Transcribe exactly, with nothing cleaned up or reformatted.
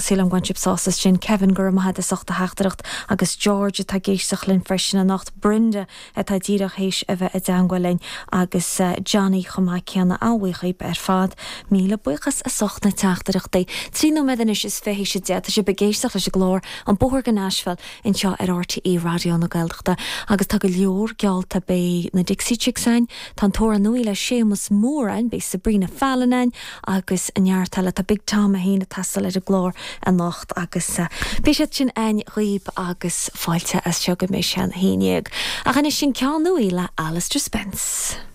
Agus sílim go bhfuil sibh sásta sin Kevin go maith as ucht a theachtaireacht agus George atá ag éisteacht linn freisin anocht Brenda atá díreach théis a bheith i dteagmháil linn agus uh, Johnny chomh maith céanna an-bhuíoch ar fad míle buíochas as ucht na teachtaireachtaí. Trí nóiméad anois is fiche théis a deich tá sibh ag éisteacht leis an gclár an Bóthar go Nashville anseo ar RTÉ Raidió na Gaeltachta agus tá go leor geallta beidh na Dixie Chicks ann, Tá tóir nua le Séamus Mór ann beidh Sabrina Fallon ann agus an neart eile tá Big Tom a haon tastal ar an gclár anocht agus uh, beidh siad sin ann dhaoibh agus fáilte as seo go mbeidh sé a haon déag. Ach anois sin ceann nua le Alistair Spence.